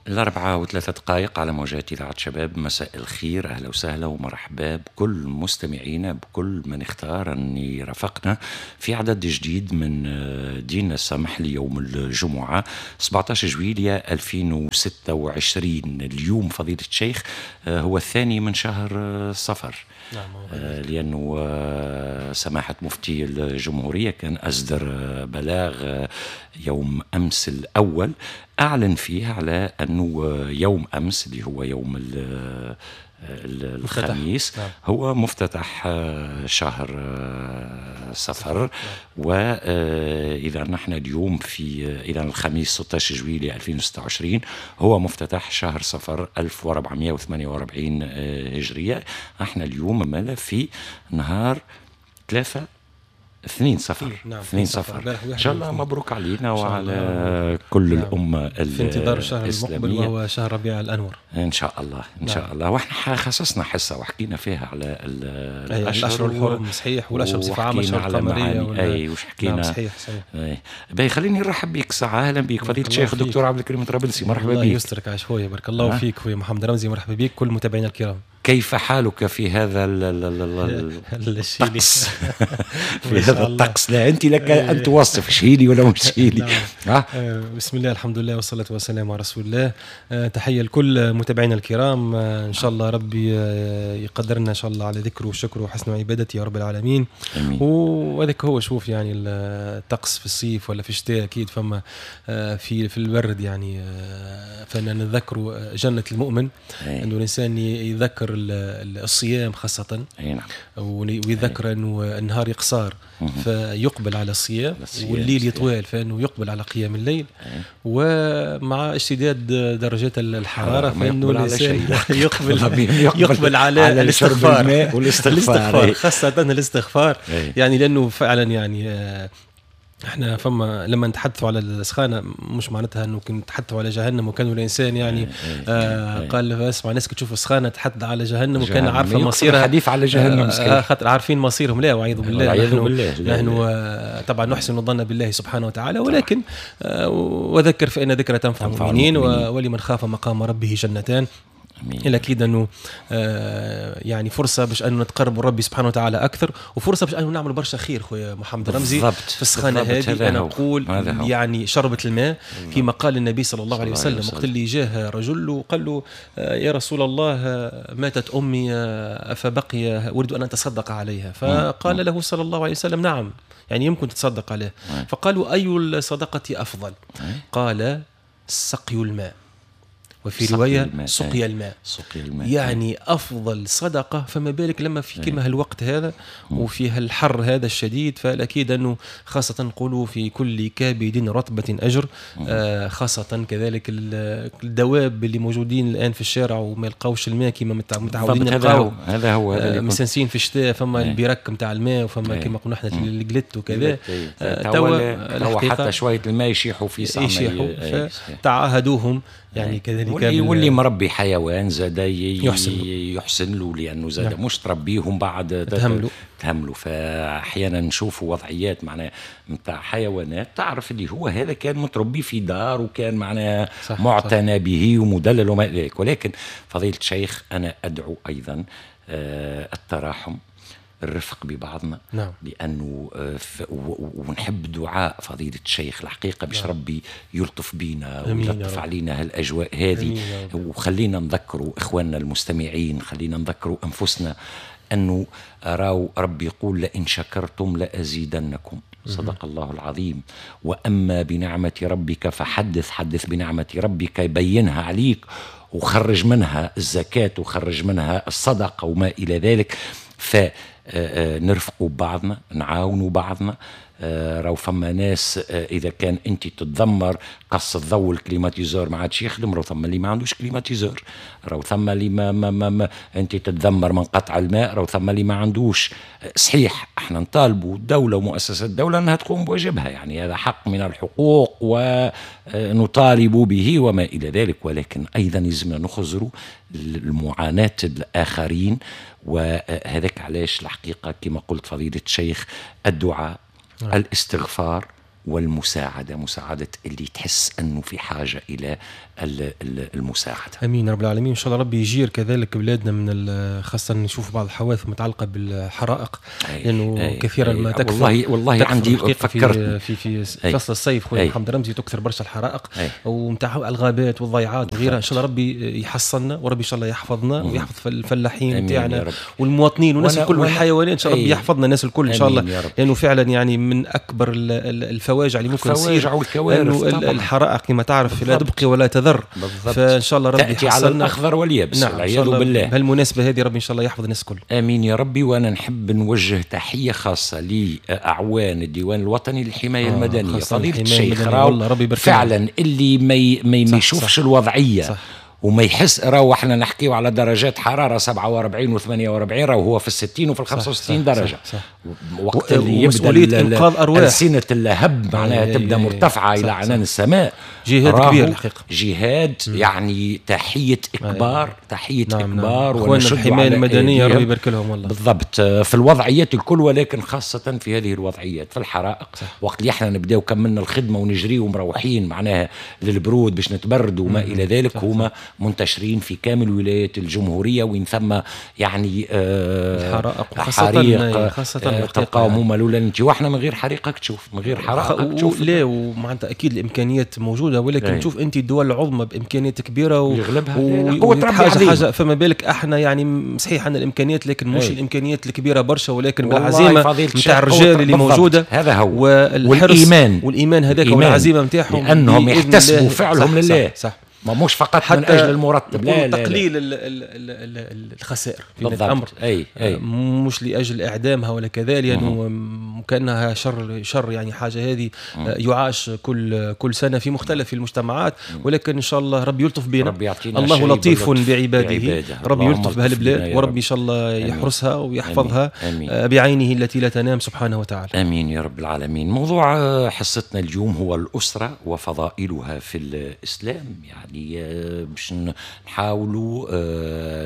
4:03 على موجات إذاعة شباب. مساء الخير، أهلا وسهلا ومرحبا بكل مستمعينا، بكل من اختار أن يرافقنا في عدد جديد من دين السمح ليوم الجمعة 17 جويلية 2026. اليوم فضيلة الشيخ هو الثاني من شهر صفر. نعم، لأنه سماحة مفتي الجمهورية كان أصدر بلاغ يوم أمس الأول، أعلن فيه على أنه يوم أمس اللي هو يوم الخميس. نعم. هو مفتتح شهر صفر. نعم. وإذا نحن اليوم في إذا الخميس 16 جويلية 2026 هو مفتتح شهر صفر 1448 هجرية. احنا اليوم مالا في نهار 3/2 صفر. نعم، 2 صفر. إن شاء الله مبروك علينا وعلى كل نعم. الأمة في انتظار الشهر المقبل الإسلامية وهو شهر ربيع الأنور إن شاء الله. إن شاء نعم. الله. وإحنا خصصنا حصة وحكينا فيها على أي الأشهر الحرم صحيح، والأشهر بصفة عامة، وحكينا الأشهر على القمرية معاني أي وش نعم حكينا. صحيح صحيح. أي. باهي، خليني نرحب بك ساعة. أهلا بك فضيلة بارك الله الشيخ فيك. الدكتور عبد الكريم طرابلسي، مرحبا الله بك. يسترك عايش خويا، بارك الله فيك خويا محمد رمزي، مرحبا بك كل المتابعين الكرام. كيف حالك في هذا الشيلي الطقس؟ في ما شاء هذا الله. الطقس لا أنت لك أن توصف شيلي ولا مش شيلي. نعم. بسم الله، الحمد لله، والصلاة والسلام على رسول الله. تحية لكل متابعينا الكرام. إن شاء الله ربي يقدرنا إن شاء الله على ذكره وشكره وحسن عبادته يا رب العالمين. آمين. وهذاك هو، شوف يعني الطقس في الصيف ولا في الشتاء أكيد فما في البرد يعني، فإن نذكر جنة المؤمن، أنه الإنسان يذكر الصيام خاصة. أي نعم. ويذكر أنه النهار يقصار فيقبل على الصيام، والليل يطوال فإنه يقبل على قيام الليل. ومع اشتداد درجات الحرارة فإنه الإنسان يقبل على الاستغفار والاستغفار، خاصة الاستغفار. يعني لأنه فعلا يعني احنا فما لما نتحدثوا على السخانه مش معناتها انه كنا نتحدثوا على جهنم، وكانوا الانسان يعني قال اسمع، الناس تشوف السخانه تحدث على جهنم وكان عارفه مصيرها، الحديث على جهنم خاطر عارفين مصيرهم. لا وعيذ بالله، نحن طبعا نحسن الظن بالله سبحانه وتعالى، ولكن وذكر فان ذكرى تنفع المؤمنين، ولمن خاف مقام ربه جنتان. الأكيد أنه يعني فرصة باش أنه نتقرب ربي سبحانه وتعالى أكثر، وفرصة باش أنه نعمل برشا خير خويا محمد رمزي في السخانة هذه. أنا أقول يعني شربة الماء كما قال النبي صلى الله عليه وسلم وقت اللي جاه رجل وقال له يا رسول الله ماتت أمي أفبقي أريد أن أتصدق عليها، فقال له صلى الله عليه وسلم نعم، يعني يمكن تتصدق عليه. فقالوا أي الصدقة أفضل؟ قال سقي الماء، وفي رواية سقي الماء. سقي الماء يعني أفضل صدقة، فما بالك لما في كما هالوقت هذا وفي هالحر هذا الشديد. فالأكيد أنه خاصة نقولوا في كل كابد رطبة أجر، خاصة كذلك الدواب اللي موجودين الآن في الشارع وما يلقاوش الماء كما متعودين نلقاو. هذا هو مسنسين في الشتاء فما البرك نتاع الماء، وفما كما قلنا احنا الجلت وكذا. توا حتى شوية الماء يشيحوا في ساعة، يشيحوا، فتعاهدوهم يعني كذلك. واللي مربي حيوان زاد يحسن له، لأنه زاد نعم. مش تربيهم بعد تهملوا. فأحيانا نشوفوا وضعيات معناها نتاع حيوانات تعرف اللي هو هذا كان متربي في دار وكان معناها معتنى به ومدلل وما إلى ذلك. ولكن فضيلة الشيخ أنا أدعو أيضا التراحم، الرفق ببعضنا. نعم. لأنه ونحب دعاء فضيلة الشيخ الحقيقة باش نعم. ربي يلطف بينا ويلطف علينا هالأجواء هذه. وخلينا نذكروا إخواننا المستمعين، خلينا نذكروا أنفسنا أنه راو ربي يقول لئن شكرتم لأزيدنكم، صدق الله العظيم. وأما بنعمة ربك فحدث، حدث بنعمة ربك، يبينها عليك وخرج منها الزكاة وخرج منها الصدقة وما إلى ذلك. فنرفقوا بعضنا، نعاونوا بعضنا. راهو فما ناس اذا كان انت تتذمر قص الضوء ال climatiseur ما عادش يخدم، راهو ثم اللي ما عندوش climatiseur، راهو ثم اللي ما, ما, ما, ما انت تتذمر من قطع الماء، راهو ثم اللي ما عندوش. صحيح احنا نطالبوا الدولة ومؤسسات الدولة انها تقوم بواجبها، يعني هذا حق من الحقوق ونطالب به وما الى ذلك، ولكن ايضا لازمنا نخزروا المعاناة الاخرين. وهذاك علاش الحقيقة كما قلت فضيلة الشيخ الدعاء، الاستغفار، والمساعدة، مساعدة اللي تحس أنه في حاجة إلى المساعدة. أمين رب العالمين. إن شاء الله ربي يجير كذلك بلادنا من خاصة نشوف بعض الحوادث المتعلقة بالحرائق، لأنه كثيرا ما تكثر. والله عندي فكرت في فصل الصيف خويا محمد رمزي تكثر برشا الحرائق ومتاع الغابات والضيعات وغيرها. إن شاء الله ربي يحصلنا، وربي إن شاء الله يحفظنا ويحفظ الفلاحين نتاعنا والمواطنين والناس الكل والحيوانات. إن شاء الله ربي يحفظنا الناس الكل إن شاء الله، لأنه فعلا يعني من أكبر الفواجع اللي ممكن تصير الحرائق كما تعرف لا تبقي ولا تذر. فان شاء الله ربي تأتي على الاخضر واليابس. نعم، والعياذ بالله. بهالمناسبه هذه ربي ان شاء الله يحفظ الناس الكل. امين يا ربي. وانا نحب نوجه تحية خاصة لاعوان الديوان الوطني للحماية المدنية، فضيلة الشيخ راو فعلا اللي ما يشوفش الوضعية صح. وما يحس، راهو احنا نحكيو على درجات حرارة 47 و48، راهو هو في 60 وفي 65 درجه. صح. وقت اللي يبدا انقاذ ارواح، ألسنة اللهب معناها تبدا مرتفعة الى عنان السماء. جهاد كبير الحقيقة، جهاد يعني تحية اكبار، تحية اكبار. اخواننا الحماية المدنية ربي يبارك لهم والله. بالضبط، في الوضعيات الكل، ولكن خاصة في هذه الوضعيات في الحرائق. صح. وقت اللي احنا نبداو كملنا الخدمة ونجري ومروحين معناها للبرود باش نتبردوا وما الى ذلك، هما منتشرين في كامل ولايات الجمهورية وين ثم يعني الحرائق، خاصة تلقاهم هما الاولى. انت واحنا من غير حريقك تشوف، من غير حرائق تشوف. لا، ومعناتها اكيد الامكانيات موجودة، ولكن تشوف انت الدول العظمى بامكانيات كبيرة يغلبها قوة ربي حاجة، فما بالك احنا يعني صحيح عندنا الامكانيات، لكن مش الامكانيات الكبيرة برشا، ولكن بالعزيمه نتاع الرجال اللي موجودة. هذا هو، والايمان هذاك والعزيمة نتاعهم، لانهم يحتسبوا فعلهم لله. صح. ما مش فقط من اجل المرتب، لا لا، تقليل الخسائر في الامر. أي. مش لاجل اعدامها ولا كذا، لانه كانها شر يعني حاجة هذه يعاش كل سنة في مختلف المجتمعات، ولكن ان شاء الله ربي يلطف بنا، ربي يعطينا الله لطيف بعباده، ربي يلطف بهالبلاد، وربي ان شاء الله يحرسها ويحفظها بعينه التي لا تنام سبحانه وتعالى. امين يا رب العالمين. موضوع حصتنا اليوم هو الاسرة وفضائلها في الاسلام، يعني باش نحاولوا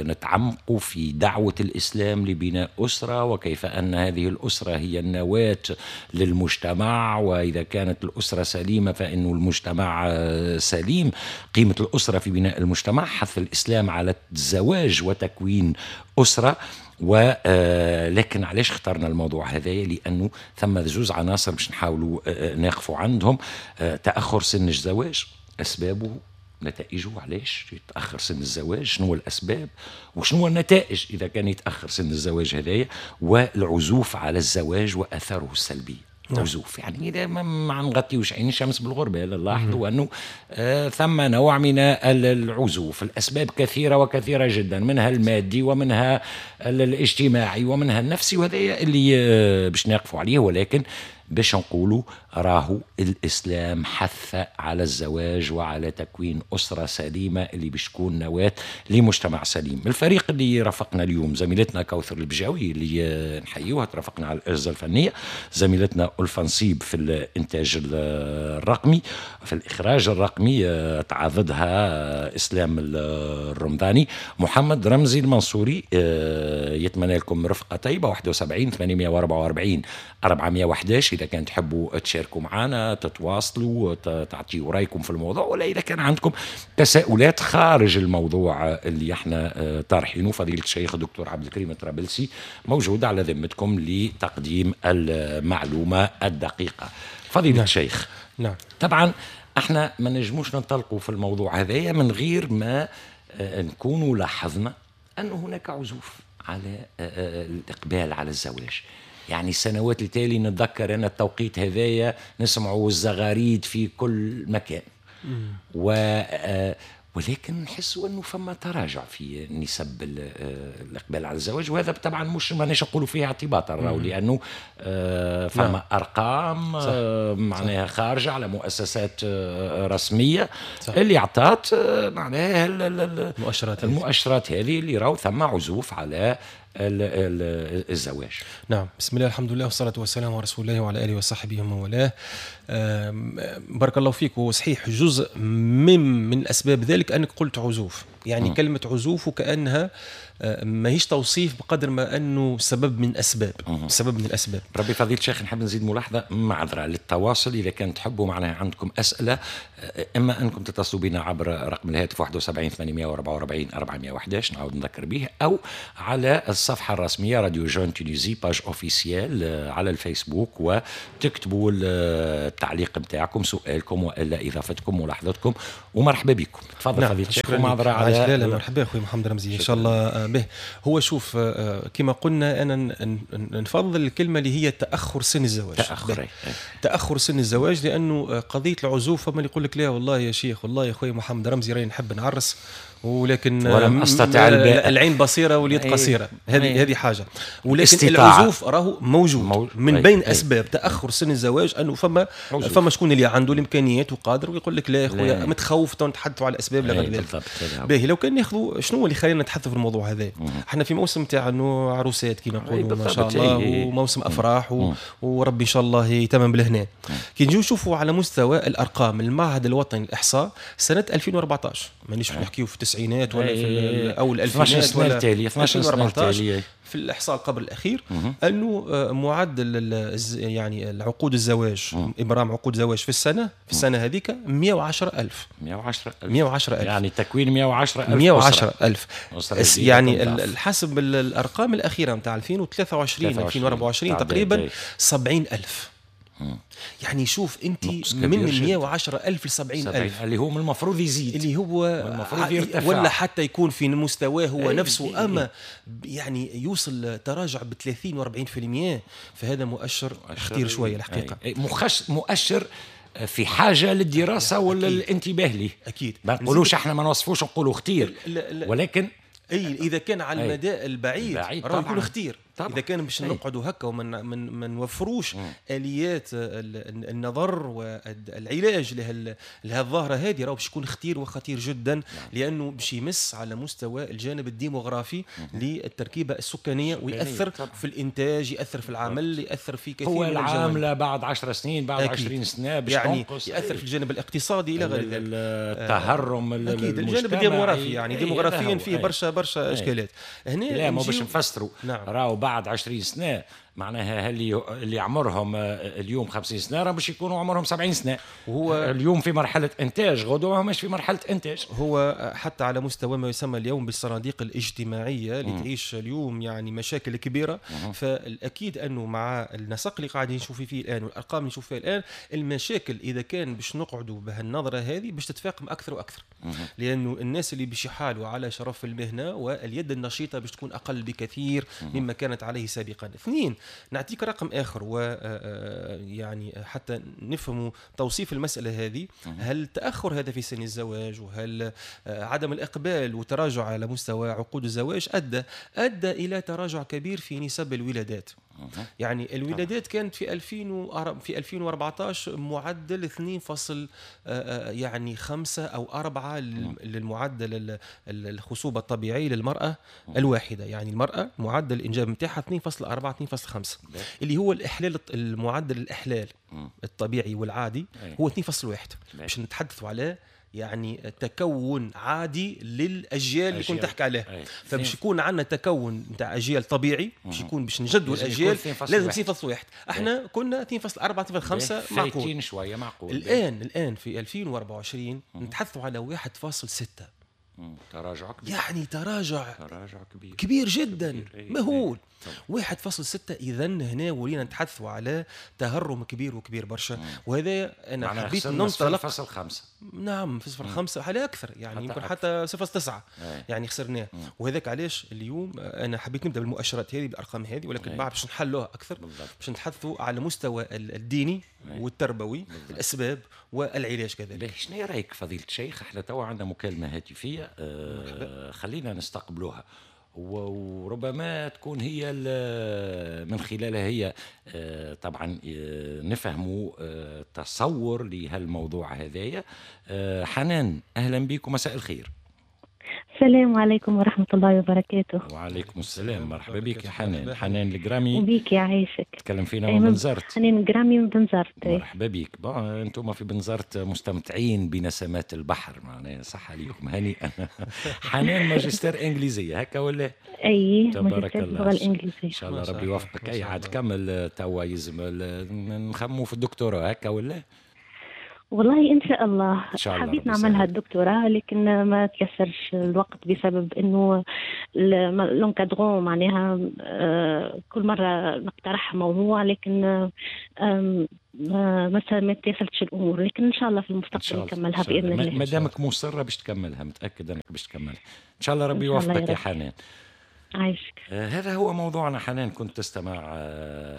نتعمقوا في دعوة الإسلام لبناء أسرة، وكيف أن هذه الأسرة هي النواة للمجتمع، وإذا كانت الأسرة سليمة فإن المجتمع سليم. قيمة الأسرة في بناء المجتمع، حث الإسلام على الزواج وتكوين أسرة. ولكن علاش اخترنا الموضوع هذا؟ لأنه ثم زوز عناصر باش نحاولوا نقفوا عندهم: تأخر سن الزواج، أسبابه، نتائجه، علاش يتأخر سن الزواج، شنو الأسباب وشنو النتائج إذا كان يتأخر سن الزواج هذايا، والعزوف على الزواج وأثره السلبي. عزوف يعني إذا ما نغطيوش عين الشمس بالغربة، لاحظوا أنه ثم نوع من العزوف. الأسباب كثيرة وكثيرة جدا، منها المادي ومنها الاجتماعي ومنها النفسي، وهذا اللي باش نقفوا عليه. ولكن باش نقولوا راهو الإسلام حث على الزواج وعلى تكوين أسرة سليمة اللي باش تكون نواة لمجتمع سليم. الفريق اللي رافقنا اليوم زميلتنا كوثر البجاوي اللي نحيوها، ترافقنا على الأجهزة الفنية، زميلتنا ألفا نصيب في الإنتاج الرقمي، في الإخراج الرقمي تعاضدها إسلام الرمضاني، محمد رمزي المنصوري. يتمنى لكم رفقة طيبة. 71 844 411 إذا كان تحبوا تشاركوا معنا، تتواصلوا، تعطيوا رأيكم في الموضوع، ولا إذا كان عندكم تساؤلات خارج الموضوع اللي احنا طارحينه. فضيلة الشيخ الدكتور عبد الكريم الطرابلسي موجود على ذمتكم لتقديم المعلومة الدقيقة. فضيلة نعم. الشيخ، نعم، طبعا احنا ما نجموش ننطلقوا في الموضوع هذايا من غير ما نكونوا لاحظنا أن هناك عزوف على الإقبال على الزواج. يعني السنوات التالي نتذكر أن التوقيت هذايا نسمعوا الزغاريد في كل مكان، ولكن نحسوا أنه فما تراجع في نسب الإقبال على الزواج. وهذا طبعا مش ماناش نقولوا فيه اعتباطا، راهو لأنه فما نعم. أرقام معناها خارجة على مؤسسات رسمية صح. اللي أعطت معناها المؤشرات هذه اللي راهو ثم عزوف على الزواج. نعم، بسم الله الحمد لله والصلاة والسلام على رسول الله وعلى آله وصحبه ومن والاه. بارك الله فيك. وصحيح جزء من أسباب ذلك أنك قلت عزوف، يعني كلمة عزوف وكأنها ماهيش توصيف بقدر ما أنه سبب من أسباب، سبب من الأسباب. ربي فضيلة الشيخ نحب نزيد ملاحظة معذرة للتواصل، إذا كان تحبوا معناها عندكم أسئلة، إما أنكم تتصلوا بنا عبر رقم الهاتف 71 844 411 نعاود نذكر به، أو على الصفحة الرسمية Radio Jeune Tunisie page officielle على الفيسبوك، وتكتبوا التعليق نتاعكم، سؤالكم وإلا إضافتكم ملاحظتكم، ومرحبا بكم. تفضل. نعم، فضيلة الشيخ ومعذرة على لا مرحبا أخوي محمد رمزي. إن شاء الله به. هو شوف كما قلنا أنا نفضل الكلمة اللي هي تأخر سن الزواج. تأخر سن الزواج، لأنه قضية العزوف فما اللي يقول لك لا والله يا شيخ، والله يا أخوي محمد رمزي راني نحب نعرس ولكن ولم استطع، العين بصيرة واليد قصيرة، هذه حاجة. ولكن العزوف راهو موجود من بين اسباب تاخر سن الزواج، انه فما شكون اللي عنده الامكانيات وقادر ويقول لك لا يا خويا متخوف، نتحدثوا على الاسباب لا غير ذلك. باهي، لو كان ناخذوا شنو اللي خلينا نتحدثوا في الموضوع هذا؟ احنا في موسم تاع انه عروسات كما نقولوا ما شاء الله، وموسم افراح وربي ان شاء الله يتمم بالهنا. كي نجيو نشوفوا على مستوى الارقام، المعهد الوطني للاحصاء سنة 2014، مانيش نحكيو في التسعينات ولا في او الالفينات ولا 12 سنة التالية، في الاحصاء قبل الاخير انه معدل يعني العقود الزواج، ابرام عقود زواج في السنة هذيك 110,000. 110,000 يعني تكوين 110,000 110,000 يعني حسب الارقام الاخيرة نتاع 2023 2024 تقريبا 70,000. يعني شوف انت من 110,000 ل 70,000 اللي هو من المفروض يزيد، اللي هو المفروض يرتفع ولا حتى يكون في مستواه هو نفسه، اما يعني يوصل تراجع ب 30 و40%، فهذا مؤشر خطير شوية الحقيقة. مؤشر في حاجة للدراسة ولا الانتباه ليه. اكيد ما نقولوش احنا، ما نوصفوش نقولوا خطير، ولكن اي اذا كان على المدى البعيد راه يكون خطير. اذا كان باش نقعدوا هكا وما نوفروش اليات النظر والعلاج لهالظاهره هذه، راه باش يكون خطير وخطير جدا. نعم. لانه باش يمس على مستوى الجانب الديموغرافي للتركيبه السكانية، ويأثر في الانتاج، يأثر في العمل، يأثر في كثير هو من الجوانب. هو العاملة بعد 10 سنين، بعد 20 سنة باش يعني تنقص، يأثر في الجانب الاقتصادي الى غير ذلك، التهرم اكيد الجانب الديموغرافي، يعني ديموغرافيا فيه برشا اشكالات هنا. لا ما باش نفسروا. نعم. راهو بعد 20 سنة معناها اللي عمرهم اليوم 50 سنة راه باش يكونوا عمرهم 70 سنة، وهو اليوم في مرحلة انتاج، غدوه مش في مرحلة انتاج. هو حتى على مستوى ما يسمى اليوم بالصناديق الاجتماعية اللي تعيش اليوم يعني مشاكل كبيرة. فالاكيد انه مع النسق اللي قاعدين نشوف فيه الان والارقام اللي نشوف فيها الان، المشاكل اذا كان باش نقعدوا بهالنظره هذه باش تتفاقم اكثر واكثر، لانه الناس اللي باش يحالوا على شرف المهنة واليد النشيطه باش تكون اقل بكثير مما كانت عليه سابقا. اثنين، نعطيك رقم آخر و يعني حتى نفهموا توصيف المسألة هذه. هل تأخر هذا في سن الزواج وهل عدم الإقبال وتراجع على مستوى عقود الزواج أدى إلى تراجع كبير في نسب الولادات. يعني الولادات كانت في 2014 معدل 2 يعني 5 أو 4 للمعدل الخصوبة الطبيعي للمرأة الواحدة. يعني المرأة معدل الإنجاب نتاعها 2.4 2.5، اللي هو الإحلال، المعدل الإحلال الطبيعي والعادي هو 2.1. باش نتحدثوا على يعني تكون عادي للاجيال اللي كنت تحكي عليها. فباش يكون عندنا تكون نتاع اجيال طبيعي، باش يكون باش نجدوا الاجيال لازم 2.1. احنا كنا 2.4 2.5 معقول شوية، معقول. الان في 2024 نتحدثوا على 1.6. تراجع كبير، يعني تراجع كبير جدا، كبير. مهول. 1.6. اذا هنا ولينا نتحدثوا على تهرم كبير وكبير برشا. وهذا انا حبيت ننطلق 0.5. نعم 0.5 على اكثر، يعني يمكن حتى 0.9 يعني خسرناه. وهذاك علاش اليوم انا حبيت نبدا بالمؤشرات هذه، بالارقام هذه، ولكن بعد باش نحلوها اكثر، باش نتحدثوا على مستوى الديني والتربوي. الاسباب والعلاج كذلك. شنو رايك فضيلة الشيخ؟ احنا توا عندنا مكالمة هاتفيه، خلينا نستقبلوها، وربما تكون هي من خلالها هي طبعا نفهموا تصور لهالموضوع هذايا. حنان، اهلا بكم، مساء الخير. السلام عليكم ورحمة الله وبركاته. وعليكم السلام، مرحبا بك يا حنان. حنان الجرامي. وبيك يعيشك. تكلم فينا من بنزرت. حنان الجرامي من بنزرت. مرحبا بك. bon انتم في بنزرت مستمتعين بنسمات البحر، معناها صح عليكم، هنيئا. حنان ماجستير انجليزية هكا ولا؟ اي تبارك الله، اللغة الانجليزية. ان شاء الله ربي يوفقك. اي عاد كمل توا، يلزم نخمو في الدكتوراه هكا ولا؟ والله إن شاء الله، إن شاء الله حبيت نعملها الدكتوراه، لكن ما تيسرش الوقت بسبب إنه l'encadrant معناها كل مرة نقترح موضوع، لكن ما تيسرتش الأمور، لكن إن شاء الله في المستقبل نكملها بإذن الله. ما دامك مصرة باش تكملها، متأكد أنك باش تكملها إن شاء الله. ربي يوفقك يا حنان. عايشك. هذا هو موضوعنا. حنان كنت تستمع.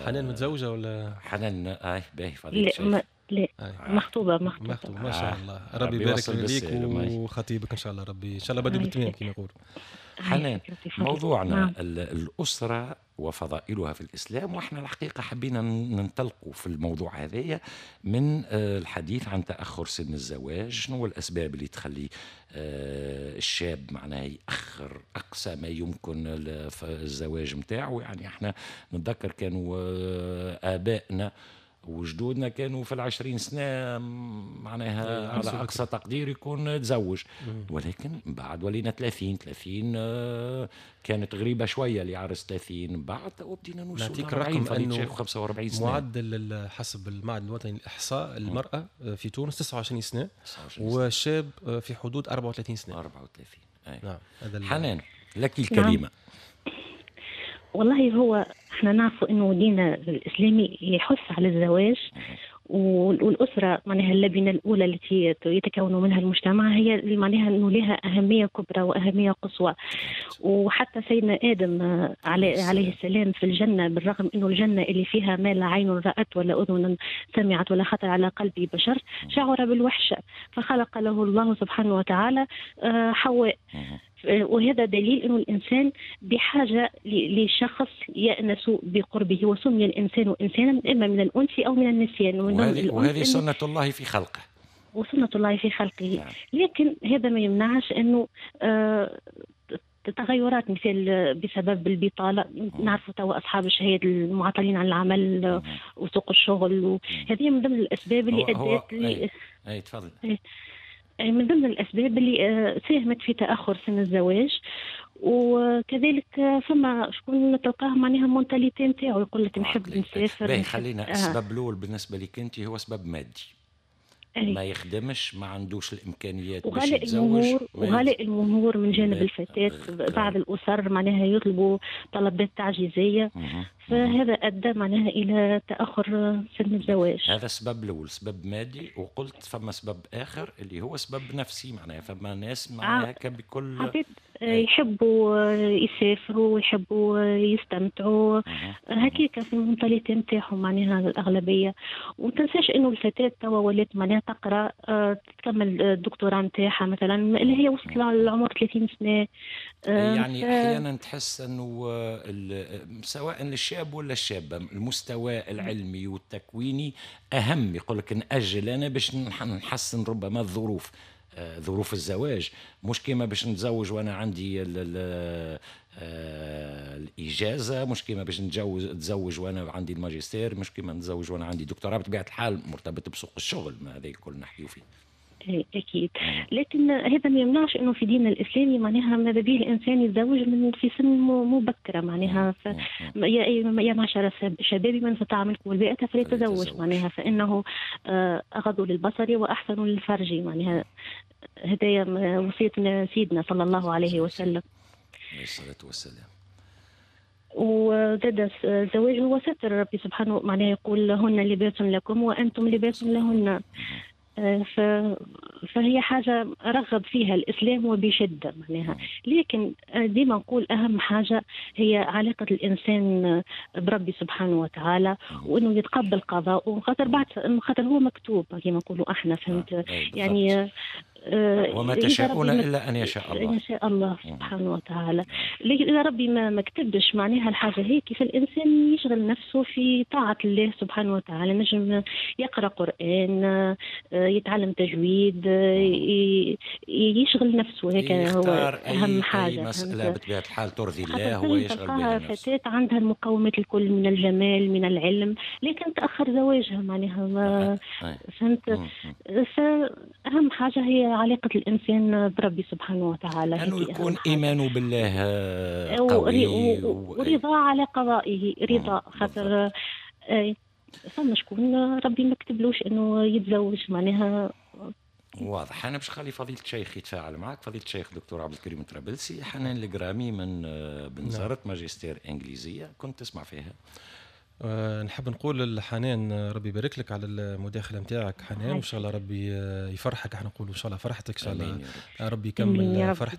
حنان متزوجة ولا؟ حنان باهي فضيلة. لا مخطوبة. مخطوبة ما شاء الله، ربي يبارك ليك وخطيبك إن شاء الله. ربي إن شاء الله بدو بالتمام كما يقولوا. حنان، موضوعنا الأسرة وفضائلها في الإسلام، وإحنا الحقيقة حبينا ننطلقوا في الموضوع هذايا من الحديث عن تأخر سن الزواج. شنو الأسباب اللي تخلي الشاب معناه يأخر أقصى ما يمكن الزواج متاعه؟ يعني احنا نتذكر كانوا آبائنا وجدودنا كانوا في 20 سنة معناها على أقصى تقدير يكون تزوج، ولكن بعد ولينا 30 كانت غريبة شوية اللي عرس 30 بعد، وبدينا نوصل نعطيك الرقم أنه 45 سنة معدل حسب المعهد الوطني للإحصاء المرأة في تونس 29 سنة، والشاب في حدود 34 سنة. 34. أي. نعم. هذا حنان لك الكلمة. نعم. والله هو احنا نعرف انه ديننا الاسلامي يحث على الزواج، والاسرة معناها اللبنة الاولى التي يتكون منها المجتمع هي معناها انه لها اهمية كبرى واهمية قصوى. وحتى سيدنا ادم عليه السلام في الجنة، بالرغم انه الجنة اللي فيها ما لا عين رأت ولا اذن سمعت ولا خطر على قلب بشر، شعر بالوحشه فخلق له الله سبحانه وتعالى حواء. وهذا دليل أنه الإنسان بحاجة لشخص يأنس بقربه، وسمي الإنسان إنسانا إما من الأنس أو من النسيان. وهذه سنة الله في خلقه. وسنة الله في خلقه. نعم. لكن هذا ما يمنعش أنه تغيرات مثل بسبب البطالة، نعرفوا توا أصحاب الشهادة المعطلين عن العمل وسوق الشغل، وهذه من ضمن الأسباب اللي أدت أي تفضل. من ضمن الأسباب اللي ساهمت في تأخر سن الزواج. وكذلك فما شكون تلقاه معناها mentalité نتاعو يقول لك نحب نسافر. باهي، خلينا السبب الأول بالنسبة لك أنت هو سبب مادي. ما يخدمش، ما عندوش الإمكانيات باش يتزوج، وغلاء المهور من جانب الفتاة. بعض الأسر معناها يطلبوا طلبات تعجيزية، فهذا أدى معناها إلى تأخر سن الزواج. هذا السبب الأول، سبب مادي. وقلت فما سبب آخر اللي هو سبب نفسي، معناها فما ناس معناها بكل عباد يحبوا يسافروا ويحبوا يستمتعوا هكاك في ال mentalité نتاعهم معناها الأغلبية. ومتنساش إنه الفتاة توا ولات معناها تقرأ تكمل الدكتوراه نتاعها مثلا اللي هي وصلت للعمر 30 سنة. يعني أحيانا تحس أنه سواء للشاب ولا الشابة المستوى العلمي والتكويني أهم، يقول لك نأجل أنا باش نحسن ربما الظروف، ظروف الزواج، مش كيما باش نتزوج وانا عندي الإجازة، مش كيما باش نتزوج وانا عندي الماجستير، مش كيما نتزوج وانا عندي دكتوراه. بطبيعة الحال مرتبط بسوق الشغل، ما هذا الكل نحكيو فيه. أكيد، لكن هذا ما يمنعش أنه في ديننا الإسلامي معناها ماذا به الإنسان يتزوج من في سن مبكرة معناها. يا معشر الشباب من استطاع منكم الباءة فليتزوج، معناها فإنه أغض للبصر وأحسن للفرج، معناها هدايا وصية سيدنا صلى الله عليه وسلم عليه الصلاة والسلام. وزاد الزواج هو ستر ربي سبحانه، معناها يقول هن لباس لكم وأنتم لباس لهن. فهي حاجة رغب فيها الإسلام وبشدة معناها. لكن ديما نقول أهم حاجة هي علاقة الإنسان بربي سبحانه وتعالى، وأنه يتقبل قضاءه، خاطر بعد خاطر هو مكتوب كما نقولوا احنا، فهمت يعني. وما تشاءون إلا أن يشاء الله، إن شاء الله سبحانه وتعالى. لكن إذا ربي ما كتبش معناها الحاجة هيك، فالإنسان يشغل نفسه في طاعة الله سبحانه وتعالى، نجم يقرأ قرآن، يتعلم تجويد، يشغل نفسه، هيك هو اهم حاجة. أي مسالة بطبيعة الحال ترضي الله هو يشغل بها نفسه. فتاة عندها المقومات الكل من الجمال من العلم، لكن تاخر زواجها معناها ما فهمت. فاهم حاجة هي علاقة الانسان بربي سبحانه وتعالى، انه يكون ايمانه بالله قوي ورضا على قضائه، رضا خاطر فما شكون ربي ما كتبلوش انه يتزوج معناها. واضح. انا باش خلي فضيلة الشيخ يتفاعل معك. فضيلة الشيخ دكتور عبد الكريم طرابلسي، حنان الجرامي من بنزرت، نعم. ماجستير انجليزية كنت تسمع فيها. نحب نقول لحنان ربي يبارك لك على المداخلة نتاعك حنان، وان شاء الله ربي يفرحك. احنا نقولوا ان شاء الله فرحتك، ان شاء الله ربي يكمل فرحتك.